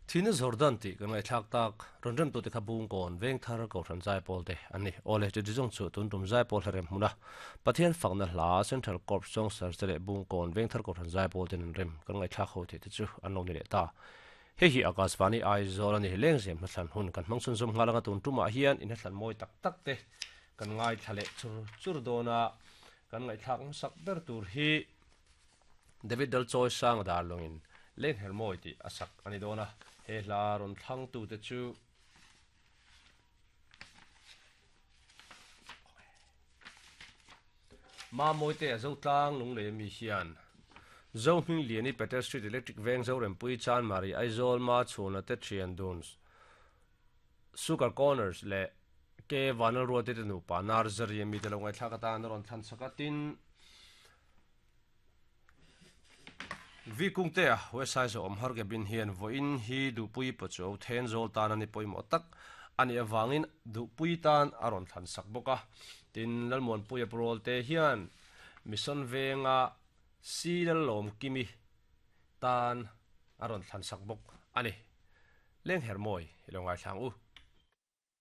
Thihna Jordan tih kan ngaihthlak tak rawn remtute kha Bungkawn Vengthar Kohhran Zaipawl te an ni. Aw le, Titi zawng chu tun tum Zaipawl hla rem hmuna Pathian fakna hla Central Corps Songsters te leh Bungkawn Vengthar Kohhran Zaipawl ten an rem kan ngaihthlak ho theih te chu an lo ni leh ta. Hei hi Akashvani Aizawl a ni. Lengzem hnathlan hun kan hmang chhunzawm nghal anga tun tumah hian inhnathlan mawi tak tak te kan ngaithla leh chur chur dawn a, kan ngaihthlak hmasak ber tur hi David Dalchawi Sanga dar lawngin Lengher Mawi tih a sak a ni dawn a, he hla rawn thlangtute chu Mamawite a Zotlang Lunglei ami hian Zohming Liani Peter Street Electric Veng Zorempui Chanmari Aizawl Ma Chhuna te Thian Dun Sugar Corners leh Ke Vanlalruate te nupa Narzary ami te lo ngaihthlak atan a rawn thlan chak a, tin Vikungtea West Aizawl awm har cabin hian vawiin hi Duhpui Pachuau Thenzawl tan a ni pawimawh tak a nih avangin Duhpui tan a rawn thlan sak bawk a. Tin, Lalmuanpuia Purawlte hian Mission Venga Si Lallawmkimi tan a rawn thlan sak bawk a ni. Lenghermawi i lo ngaithla ang u.